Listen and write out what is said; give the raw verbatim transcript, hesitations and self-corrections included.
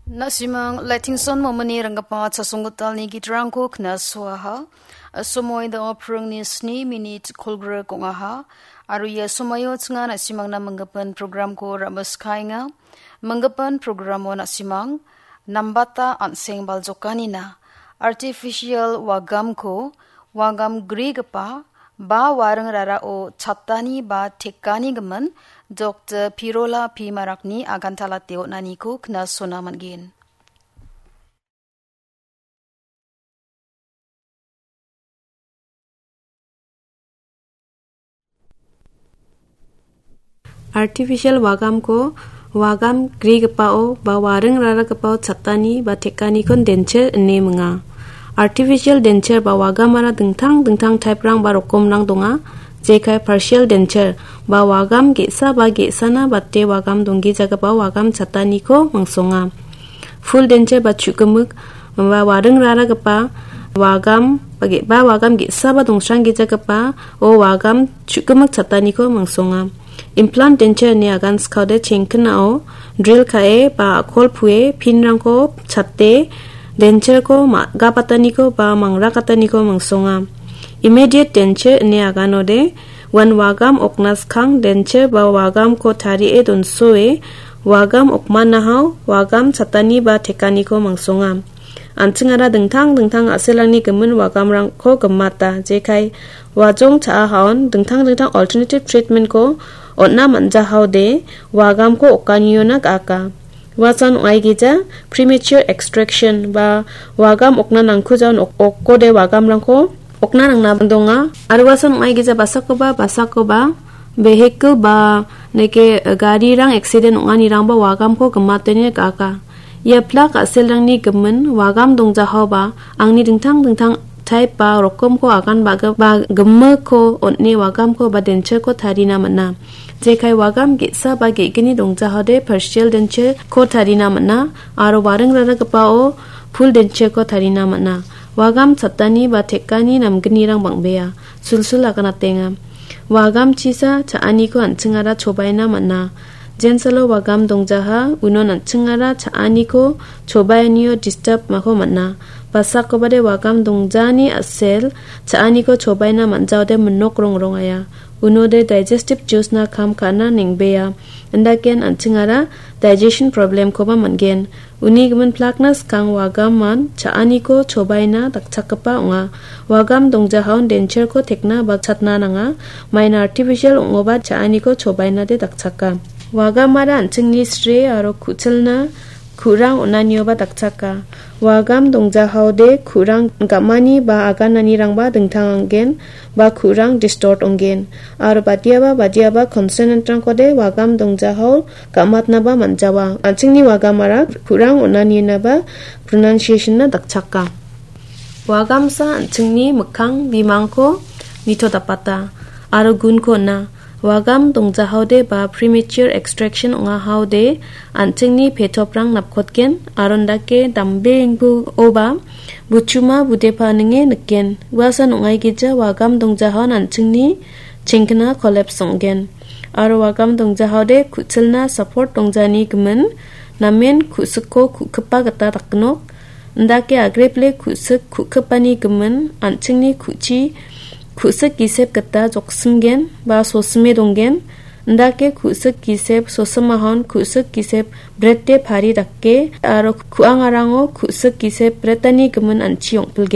Na·simang Laitingson Momini ringgipa chasonggitalni gitrangko knasuaha. Somoi da·o pringni sni minit kolgrik ong·aha. Aro ia somoio chinga na·simangna minggipan programko ra·miskaenga. Minggipan programo na·simang nambata an·seng baljokanina. Artificial wagamko wagam grigipa ba waring rarao chatani ba tekani gimin Doktor Pirola P Marakni agantalate on·aniko knasona man·gen. Artificial wagamko wagam grigipao ba waring raragipao chatani ba tekanikon denture ine minga. Artificial denture ba wagamara dingtang dingtang type-rang ba rokomrang donga. Jekai partial denture ba wagam ge·sa ba ge·sana bate wagam donggijagipao wagam chataniko mangsonga. Full denture ba chu·gimik ba waring raragipa wagam ba ge-, ba wagam ge·sa ba dongsranggijagipa o wagam chu·gimik chataniko mangsonga. Implant denture ine agan skode chengkinao drill ka·e ba a·kol pue pinrangko chate dentureko ma-, gapataniko ba mangrakataniko mangsonga. Immediate denture ine aganode uan wagam okna skang denture ba wagamko tarie donsoe wagam okmanahao wagam chatani ba tekaniko mangsonga. An·chingara dingtang dingtang a·selrangni gimin wagamrangko gimata, jekai wajong cha·ahaon dingtang dingtang alternative treatment-ko on·na man·jahaode wagamko okaniona ga·aka. Uasan ong·aigija premature extraction ba wagam okna nangkujaon ok-, okode wagamrangko okna nangna donga. Aro uasan ong·aigija basakoba, basakoba vehicle ba neke garirang accident ong·anirangba wagamko gimatene ga·aka. Ia plak a·selrangni gimin wagam dongjahaoba angni dingtang dingtang type ba rokomko agan ba-, ba gimikko on·e wagamko ba dentureko tarina man·a. Jekai wagam ge·sa ba ge·gni dongjaode partial dentureko tarina man·a aro waring raragipao full dentureko tarina man·a. Wagam chatani ba tekani namgnirang bang·bea, sulsul aganatenga. Wagam chisa cha·aniko an·chingara chobaina man·a. Jensalo wagam dongjaha, unon an·chingara cha·aniko chobaenio disturb mako man·a. Basakobade wagam dongjani a·sel cha·aniko chobaina man·jaode minok rongrongaya. Unode digestive juice-na kam ka·na neng·bea. Indaken an·chingara digestion problem-koba man·gen. Uni gimin plakna skang wagaman cha·aniko chobaina dakchakgipa ong·a. Wagam dongjahaon dentureko tekna ba chatna nanga. Maina artificial ong·oba cha·aniko chobainade dakchaka. Wagamara an·chingni sre aro ku·chilna ku·rang on·anioba dakchaka. Wagam dongjahaode ku·rang gam·ani ba agananirangba dingtang anggen ba ku·rang distort ong·gen. Aro badiaba badiaba consonant-rangkode wagam dongjahao gam·atnaba man·jawa. An·chingni wagamara ku·rang on·aninaba pronunciation-na dakchaka. Wagamsa an·chingni mikkang bimangko nitodapata aro gunko on·a. Wagam dongjahaode ba premature extraction ong·ahaode an·chingni petoprang napkotgen aro indake dambe ingbuoba buchuma budepa ninge nikgen. Uasan ong·aigija wagam dongjahaon an·chingni chengkina collapse ong·gen. Aro wagam dongjahaode ku·chilna support dongjani gimin namen ku·sikko ku·kipa gita dakgnok. Indake agrepile ku·sik ku·kipani gimin an·chingni ku·chi ku·sik gisep gita joksimgen ba sosime donggen. Indake ku·sik gisep sosimahon ku·sik gisep brete pari dake aro ku·angarango ku·sik gisep bretani gimin an·chi ong·pilgen.